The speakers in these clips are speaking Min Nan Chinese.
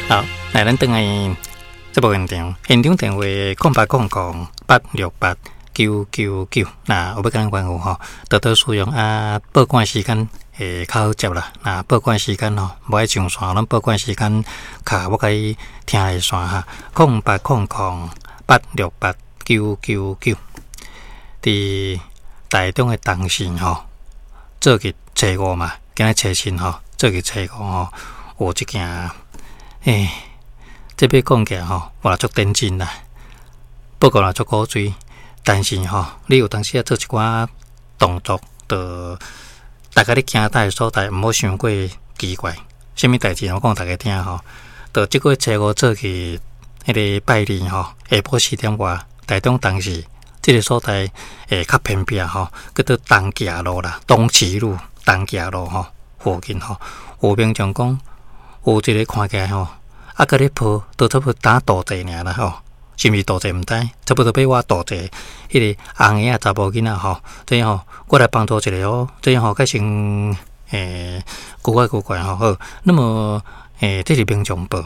好，來咱轉來節目現場，現場電話0800868999，若有欲共咱關顧吼，多多使用啊，報館時間會較好接啦。若報館時間吼，無愛上線，咱報館時間卡我共你聽熱線哈，0800868999。佇台中的東勢吼，做日初五嘛，今仔初七吼，做日初五吼，有一件，欸，這欲講起來吼，嘛足天真啦，不過嘛足古錐，但是吼，你有當時仔做一寡動作，就大家咧行佗的所在，毋好傷過奇怪。啥物代誌？我講大家聽吼。就這個月初五做去彼个拜二吼，下晡4點外，台中東勢這个所在會較偏僻吼，叫做東徛路啦，東耆路、東徛路吼附近吼，有民眾講有一個看起來吼，啊，閣咧抱，都差不多當渡濟爾啦吼，是毋是渡濟毋知，差不多欲倚渡濟，彼个紅嬰仔查埔囡仔吼，這吼我來幫助一下哦，這吼較先古怪古怪吼好，那麼這是民眾報，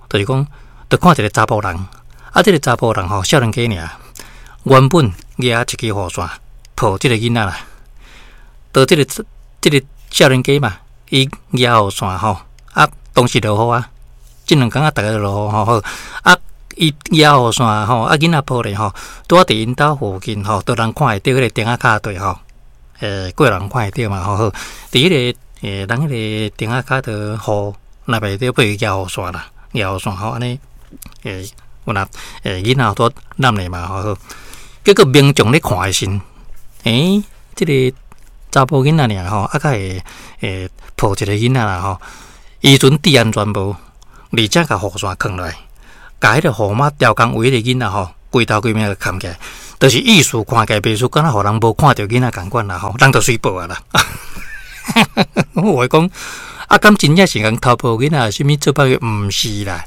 就是講，就看一個查埔人，啊，這個查埔人吼少年家爾，原本舉一支雨傘抱這個囡仔啦，到這個少年家嘛，伊舉雨傘吼，啊，當時落雨啊，這兩工啊，逐个落雨吼好，啊，伊舉雨傘吼，啊，囡仔抱咧吼，拄仔佇𪜶兜附近吼，都人看會著彼個燈仔跤對吼，過人看會著嘛吼好，佇彼個人彼個燈仔跤佇雨若袂著被伊舉雨傘啦，舉雨傘吼按呢，有若囡仔拄攬咧嘛吼好，結果民眾咧看的時陣，欸，這個查埔囡仔爾吼，啊，較會抱一個囡仔啦吼，伊陣戴安全帽，而且共雨傘囥落來，共彼個雨帽刁工為彼個囡仔吼，規頭規面共崁起來，就是意思看起來袂輸，敢若予人無看著囡仔仝款啦吼，人就隨報啊啦。我會講，啊，敢真正是共偷抱囡仔，啥物做歹去？毋是啦，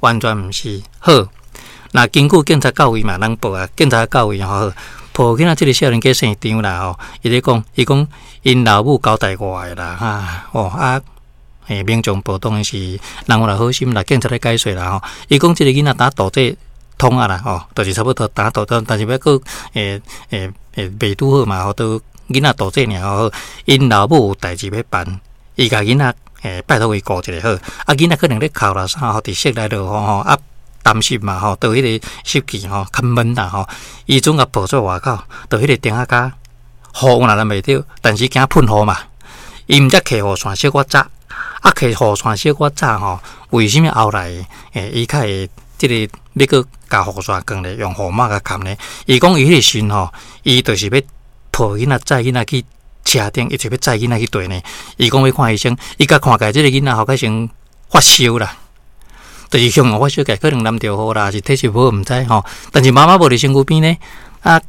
完全毋是。好，若根據警察到位嘛，人報啊，警察到位吼，好，抱囡仔這個少年家姓張啦吼，伊咧講，伊講𪜶老母交代我的啦，哈，哦啊，民眾報當然是人有來好心啦，警察咧解說啦吼，伊講這個囡仔打渡這通啊啦吼，就是差不多打渡，但是欲閣袂拄好嘛吼，都囡仔渡這爾吼，𪜶老母有代誌欲辦，伊共囡仔拜託伊顧一下好，啊囡仔可能咧哭啦啥吼，佇室內落雨吼，啊擔心嘛吼，到彼個濕氣吼較悶啦吼，伊準共抱出外口，到彼個燈仔跤雨有若淋袂著，但是驚噴雨嘛，伊毋才提雨傘小可早，啊提雨傘小可早吼，為啥物後來伊較會這個欲閣共雨傘囥咧，用雨帽共崁咧？伊講伊彼個時吼，伊就是欲抱囡仔載囡仔去車頂，伊就欲載囡仔去綴呢。伊講欲看醫生，伊共看起來這個囡仔吼，較先發燒啦，就是向發燒起來，可能淋著雨啦，是體質無好毋知吼。但是媽媽無佇身軀邊呢，啊，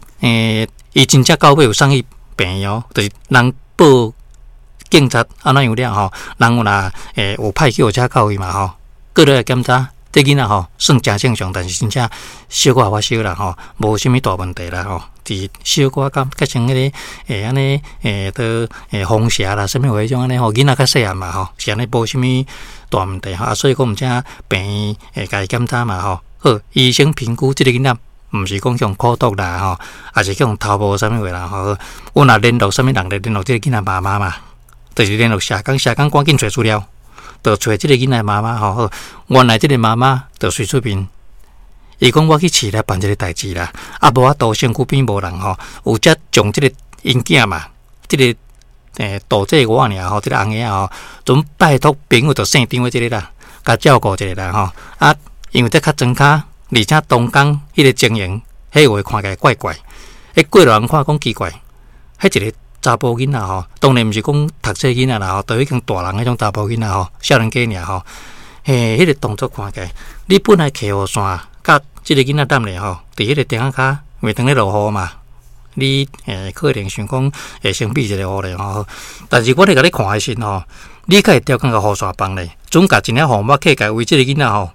伊真正到尾有送去病院哦，就是人報警察按怎樣了吼，人有若有派救護車到位嘛吼，過來檢查。這囡仔吼算誠正常，但是真正小可發燒啦吼，無啥物大問題啦吼。佇小可感覺成彼個按呢都風邪啦，啥物話彼種按呢吼，囡仔較細漢嘛吼，是按呢無啥物大問題吼。啊，所以講毋才病院會共伊檢查嘛吼。好，醫生評估這個囡仔毋是講予苦毒啦吼，抑是予偷抱啥物話啦吼。阮若聯絡啥物人咧，聯絡這個囡仔媽媽嘛，就是聯絡社工，社工趕緊揣資料。就揣這個囡仔媽媽吼，好，原來這個媽媽就隨出面，伊講我去市內辦一個代誌啦，啊無法度身軀邊無人吼，有才將這個𪜶囝嘛，這個渡濟我爾吼，這個紅嬰仔吼，陣拜託朋友就姓張的這個啦，共照顧一下啦吼，啊，因為這較莊跤，而且當工彼個情形，彼話看起來怪怪，彼過路人看講奇怪，彼一個查埔囡仔吼，當然毋是講讀冊囡仔啦吼，都已經大人彼種查埔囡仔吼，少年家爾吼，嘿，彼個動作看起來，你本來提雨傘，佮這個囡仔踮咧吼，佇彼個燈仔跤，因為當咧落雨嘛，你可能想講會先避一下雨咧吼，但是我咧共你看的時吼，你較會刁工共雨傘放咧，總共一領雨帽蓋蓋為這個囡仔吼，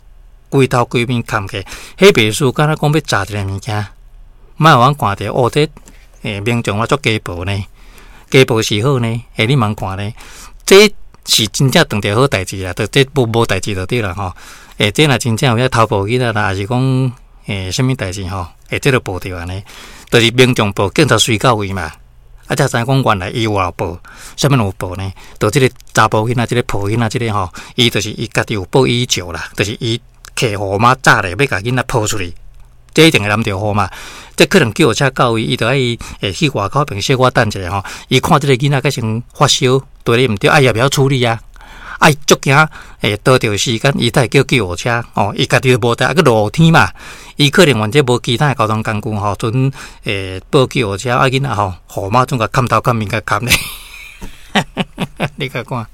規頭規面崁起，彼袂輸敢若講欲炸一个物件，莫予阮看著哦，這民眾啊足家暴呢。家暴是好呢，欸，你茫看呢？這是真正當著好代誌啦，就這無代誌就對啦吼。欸，這若真正有遐偷抱囡仔啦，抑是講欸，啥物代誌吼？欸，這就報著按呢，就是民眾報，警察隨到位嘛。啊，才知影講原來伊有報，啥物有報呢？就這个查埔囡仔，這个抱囡仔，這个吼，伊就是伊家己有報以石啦，就是伊提雨傘罩咧，欲共囡仔抱出去，這一定會淋著雨嘛。這可能救護車到位，伊就愛會去外口邊小可等一下吼。伊看這个囡仔閣先發燒，對咧毋對，啊伊也袂曉處理啊。啊，伊足驚會耽著時間，伊才會叫救護車吼。伊家己無帶，啊閣落雨天嘛，伊可能反正無其他的交通工具吼，陣會報救護車，啊囡仔吼，雨傘總共崁頭崁面共崁咧。你共看，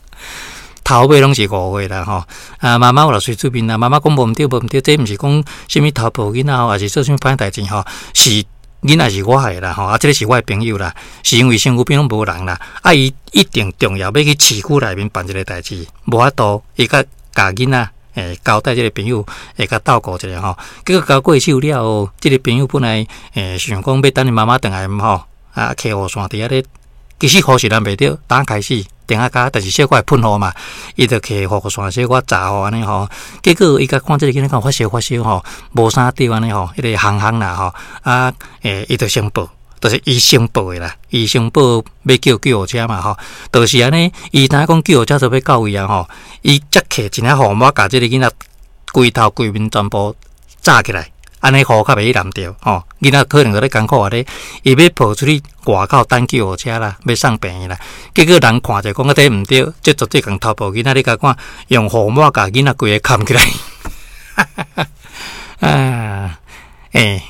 頭尾攏是誤會啦吼。啊，媽媽有來隨出面啦，媽媽講無毋對，無毋對，這毋是講啥物偷抱囡仔吼，抑是做啥物歹代誌吼，是。囡仔是我的啦，吼啊，這个是我的朋友啦，是因為身軀邊攏無人啦，啊，伊一定重要欲去市區內面辦一个代誌，無法度，伊共共囡仔欸交代這个朋友會共照顧一下吼，結果交過手了後，這个朋友本來欸想講欲等伊媽媽轉來吼，啊，提雨傘佇遐咧，其實雨是淋袂著，剛開始。電仔跤，但是小可會噴雨嘛，伊就提雨傘小可罩雨按呢吼。結果伊共看這个囡仔敢有發燒發燒吼，無啥著按呢吼，彼个烘烘啦吼，啊，欸，伊就先報，就是伊先報的啦，伊先報欲叫救護車嘛吼，就是按呢，伊知影講救護車就欲到位啊吼，伊才提一領雨傘共這个囡仔規頭規面全部罩起來。按呢雨較袂去淋著吼，囡仔可能閣咧艱苦啊咧，伊欲抱出去外口等救護車啦，欲送病院啦。結果人看著講啊，這毋對，這絕對共偷抱囡仔，你共看用雨傘共囡仔規个崁起來。啊，欸，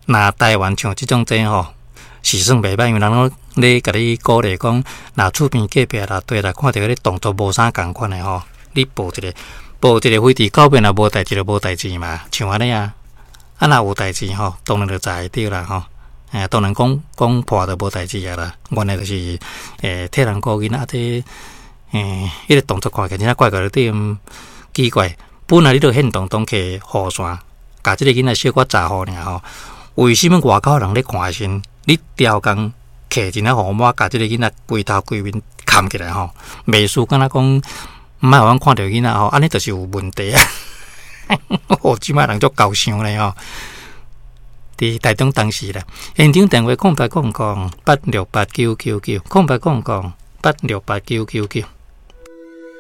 若台灣像這種這吼，是算袂歹，因為人攏咧共你鼓勵講，若厝邊隔壁啦，對啦，看著彼動作無啥仝款的吼，你報一个，報一个飛佇狗邊若無代誌就無代誌嘛，像按呢啊。啊，若有代誌吼，當然就載會著啦吼。欸，當然講講破就無代誌啊啦。原來就是欸，替人顧囡仔，這欸，彼个動作看起來真正怪怪的，對奇怪。本來你著現動當提雨傘，共這个囡仔小可罩雨爾吼。為啥物外口人咧看的時陣，你刁工提一領雨傘，共這个囡仔規頭規面崁起來吼？袂輸敢若講，毋愛予阮看著囡仔吼，按呢就是有問題啊！哦，這擺人足猴想咧吼，佇台中東勢啦，現場電話空八空空八六八九九九，空八空空八六八九九九。